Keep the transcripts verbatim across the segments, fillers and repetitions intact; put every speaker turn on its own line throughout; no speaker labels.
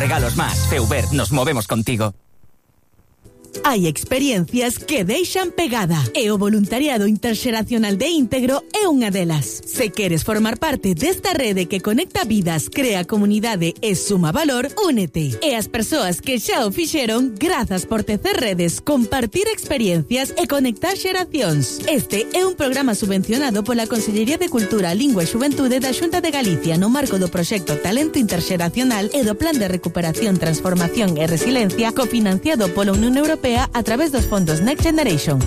regalos más. Feuber, nos movemos contigo.
Hai experiencias que deixan pegada e o voluntariado interxeracional de Íntegro é unha delas. Se queres formar parte desta rede que conecta vidas, crea comunidade e suma valor, únete. E as persoas que xa o fixeron, grazas por tecer redes, compartir experiencias e conectar xeracións. Este é un programa subvencionado pola Consellería de Cultura, Lingua e Xuventude da Xunta de Galicia no marco do proxecto Talento Interxeracional e do Plan de Recuperación, Transformación e Resiliencia cofinanciado pola Unión Europea a través dos fondos Next Generation.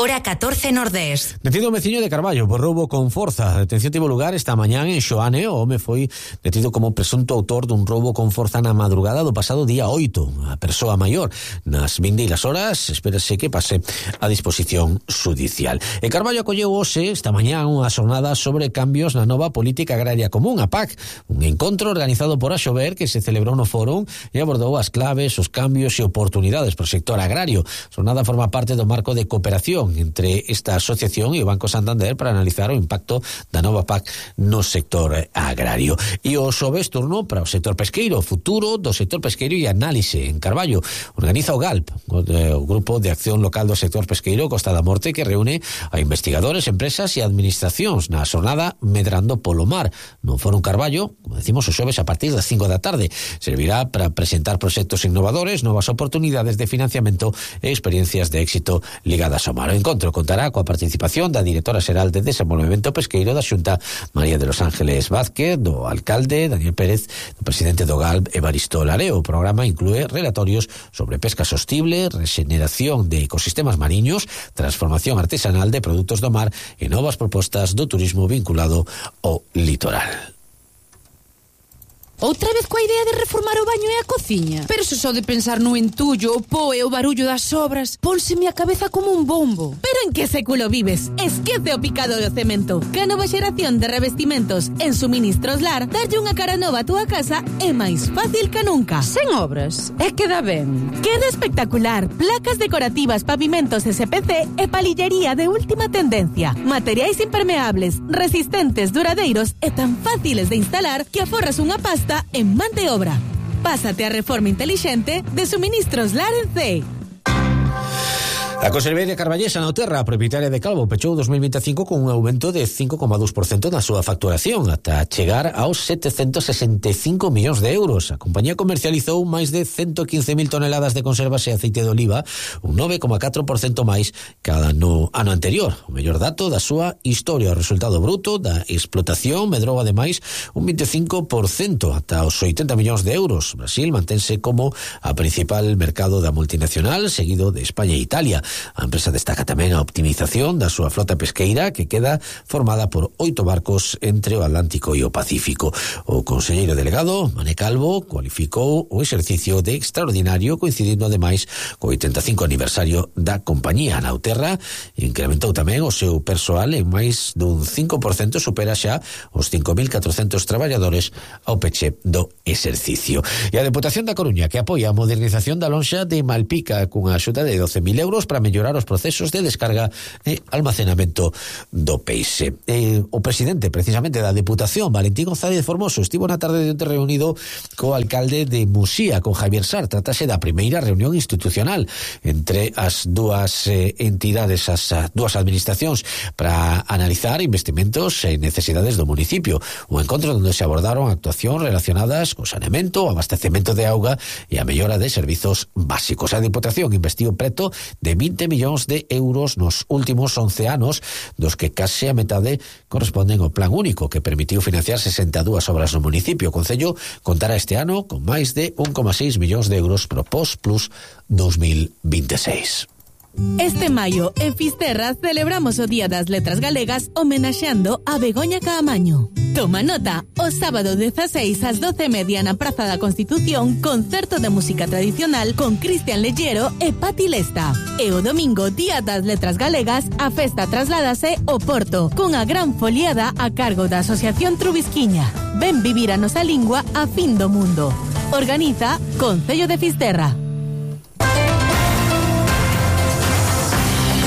Hora catorce Nordés.
Detido un veciño de Carballo por roubo con forza. A detención tivo lugar esta mañán en Xoane. O home foi detido como presunto autor dun roubo con forza na madrugada do pasado día oito. A persoa maior nas vindeiras horas espérase que pase a disposición judicial. E Carballo acolleu hoxe esta mañán unha xornada sobre cambios na nova política agraria común, a P A C, un encontro organizado por Axover que se celebrou no fórum e abordou as claves, os cambios e oportunidades pro sector agrario. A xornada forma parte do marco de cooperación entre esta asociación e o Banco Santander para analizar o impacto da nova P A C no sector agrario. E o xoves turno para o sector pesqueiro, o futuro do sector pesqueiro e análise en Carballo. Organiza o GALP, o, o Grupo de Acción Local do Sector Pesqueiro Costa da Morte, que reúne a investigadores, empresas e administracións na xornada Medrando polo Mar. No Fórum Carballo, como decimos, o xoves a partir das cinco da tarde, servirá para presentar proxectos innovadores, novas oportunidades de financiamento e experiencias de éxito ligadas ao mar. O encontro contará coa participación da directora xeral de Desenvolvemento Pesqueiro da Xunta, María de los Ángeles Vázquez, do alcalde Daniel Pérez, do presidente do GALP Evaristo Lareo. O programa inclúe relatorios sobre pesca sostible, regeneración de ecosistemas mariños, transformación artesanal de produtos do mar e novas propostas do turismo vinculado ao litoral.
Outra vez coa idea de reformar o baño e a cociña? Pero se só de pensar no entullo, o pó e o barullo das obras, pónseme a cabeza como un bombo.
Pero en que século vives? Esquece o picado do cemento. Que a nova xeración de revestimentos en Suministros Lar darlle unha cara nova a túa casa é máis fácil que nunca.
Sen obras, é que dá ben.
Queda espectacular. Placas decorativas, pavimentos S P C e palillería de última tendencia. Materiais impermeables, resistentes, duradeiros e tan fáciles de instalar que aforras unha pasta en man de obra. Pásate a reforma inteligente de Suministros Lar en C.
A Conservería Carballesa na Terra, propietaria de Calvo, pechou dos mil veinticinco con un aumento de cinco coma dous por cento na súa facturación, ata chegar aos setecentos sesenta e cinco millóns de euros. A compañía comercializou máis de ciento quince mil toneladas de conservas e aceite de oliva, un nove coma catro por cento máis cada no ano anterior. O mellor dato da súa historia. O resultado bruto da explotación medrou ademais un veinticinco por cento ata os oitenta millóns de euros. Brasil mantense como a principal mercado da multinacional, seguido de España e Italia. A empresa destaca tamén a optimización da súa flota pesqueira, que queda formada por oito barcos entre o Atlántico e o Pacífico. O conselleiro delegado, Mané Calvo, cualificou o exercicio de extraordinario, coincidindo ademais co oitenta e cinco aniversario da compañía. Na Nauterra incrementou tamén o seu persoal en máis dun cinco por cento, supera xa os cinco mil catrocentos traballadores ao peche do exercicio. E a Deputación da Coruña, que apoia a modernización da lonxa de Malpica cunha axuda de doce mil euros para mellorar os procesos de descarga e almacenamento do peixe. E o presidente, precisamente, da Deputación, Valentín González Formoso, estivo na tarde de onte reunido co alcalde de Muxía, con Javier Sar. Tratase da primeira reunión institucional entre as dúas eh, entidades, as a, dúas administracións, para analizar investimentos e necesidades do municipio. Un encontro onde se abordaron actuacións relacionadas co saneamento, o abastecemento de auga e a mellora de servizos básicos. A Deputación investiu preto de vinte millóns de euros nos últimos once anos, dos que case a metade corresponden ao Plan Único, que permitiu financiar sesenta e dúas obras no municipio. O Concello contará este ano con máis de un coma seis millóns de euros pro Post Plus dos mil veintiséis.
Este maio, en Fisterra, celebramos o Día das Letras Galegas homenaxeando a Begoña Caamaño. Toma nota, o sábado dezaseis ás doce e media na Praza da Constitución, concerto de música tradicional con Cristian Lellero e Pati Lesta. E o domingo, Día das Letras Galegas, a festa trasládase ao Porto, cunha gran foliada a cargo da Asociación Trubisquiña. Ven vivir a nosa lingua a fin do mundo. Organiza Concello de Fisterra.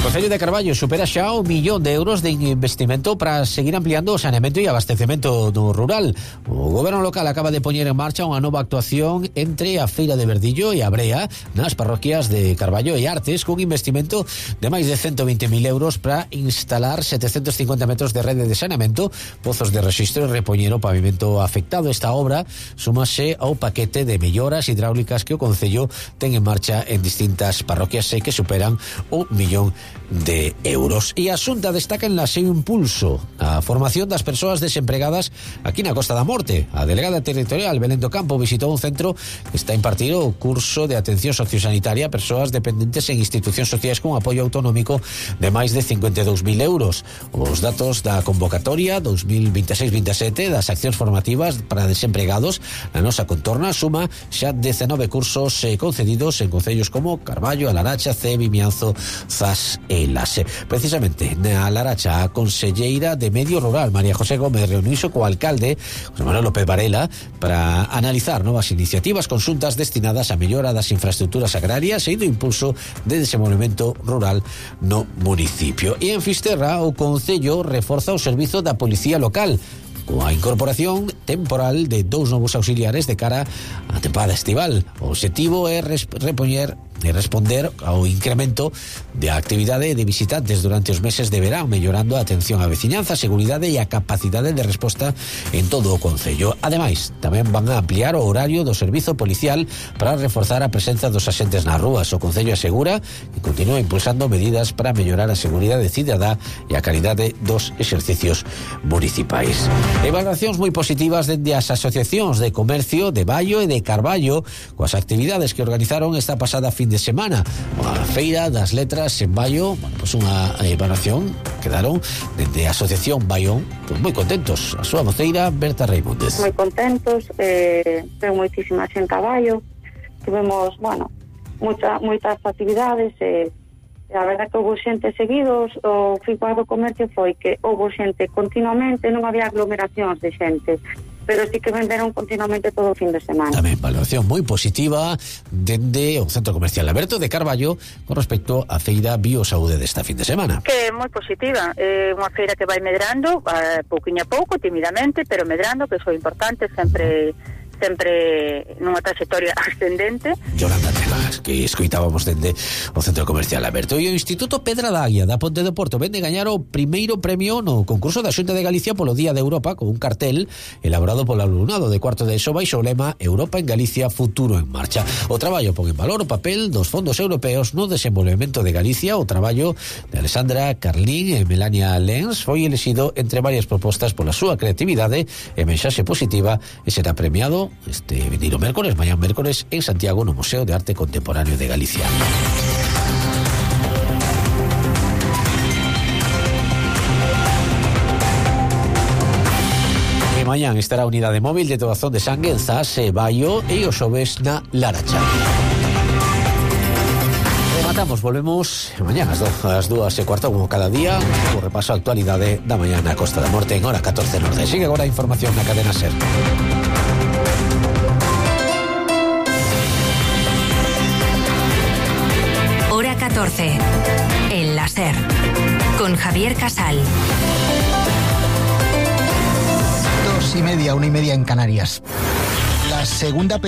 O Concello de Carballo supera xa un millón de euros de investimento para seguir ampliando o saneamento e abastecemento do rural. O goberno local acaba de poñer en marcha unha nova actuación entre a Feira de Verdillo e a Brea nas parroquias de Carballo e Artes, cun investimento de máis de ciento veinte mil euros para instalar setecentos cincuenta metros de rede de saneamento, pozos de rexistro e repoñer o pavimento afectado. Esta obra súmase ao paquete de melloras hidráulicas que o Concello ten en marcha en distintas parroquias e que superan un millón de euros. E a Xunta destaca en la seu impulso a formación das persoas desempregadas aquí na Costa da Morte. A delegada territorial Belén do Campo visitou un centro que está impartido o curso de atención sociosanitaria a persoas dependentes en institucións sociais con apoio autonómico de máis de cincuenta e dous mil euros. Os datos da convocatoria dos mil veintiséis veintisiete das accións formativas para desempregados na nosa contorna suma xa dezenove cursos eh, concedidos en concellos como Carballo, A Laracha, Cee, Vimianzo, Zas e Lase. Precisamente na Laracha, a conselleira de Medio Rural María José Gómez reuniuse co alcalde José Manuel López Varela para analizar novas iniciativas conxuntas destinadas a mellora das infraestructuras agrarias e do impulso de desenvolvemento rural no municipio. E en Fisterra o Concello reforza o servizo da Policía Local coa incorporación temporal de dous novos auxiliares de cara á temporada estival. O obxectivo é repoñer e responder ao incremento de actividade de visitantes durante os meses de verán, mellorando a atención á veciñanza, a seguridade e a capacidade de resposta en todo o Concello. Ademais, tamén van a ampliar o horario do servizo policial para reforzar a presenza dos axentes nas rúas. O Concello asegura que continúa impulsando medidas para mellorar a seguridade cidadá e a calidade dos exercicios municipais. Evaluacións moi positivas dende as asociacións de comercio de Baio e de Carballo coas actividades que organizaron esta pasada fin de semana. A Feira das Letras en Baio, bueno, pues unha evaluación quedaron dende a Asociación Baión pues moi contentos. A súa voceira Berta Reimundes.
Moi contentos, eh, ten moitísima xente a Baio, tivemos, bueno, mucha, moitas actividades, e eh, a verdad que houve xente seguidos. O feedback do comercio foi que houve xente continuamente, non había aglomeracións de xente, pero sí que venderon continuamente todo o fin de semana.
Tamén valoración moi positiva dende o Centro Comercial Alberto de Carballo con respecto á feira Biosaúde desta fin de semana.
Que é moi positiva, é unha feira que vai medrando, a pouquiño a pouco, timidamente, pero medrando, que é importante, sempre sempre nunha trayectoria ascendente.
Yolanda Telas, que escoitábamos dende o Centro Comercial Alberto. E o Instituto Pedra da Águia da Ponte do Porto vende gañar o primeiro premio no concurso da Xunta de Galicia polo Día de Europa con un cartel elaborado polo alumnado de cuarto de ESO baixo o lema Europa en Galicia, futuro en marcha. O traballo pon en valor o papel dos fondos europeos no desenvolvemento de Galicia. O traballo de Alessandra Carlín e Melania Lenz foi elexido entre varias propostas pola súa creatividade e mensaxe positiva e será premiado este vindeiro mércores, mañá mércores, en Santiago, no Museo de Arte Contemporáneo de Galicia. E mañán estará a unidade móvil de doazón de sangue en Zas e Baio e o xoves na Laracha. Rematamos, volvemos mañán ás dúas e cuarto como cada día, o repaso a actualidade da mañá na Costa da Morte en hora catorce norte. Sigue agora a información na cadena SER.
catorce. El láser. Con Javier Casal.
Dos y media, una y media en Canarias. La segunda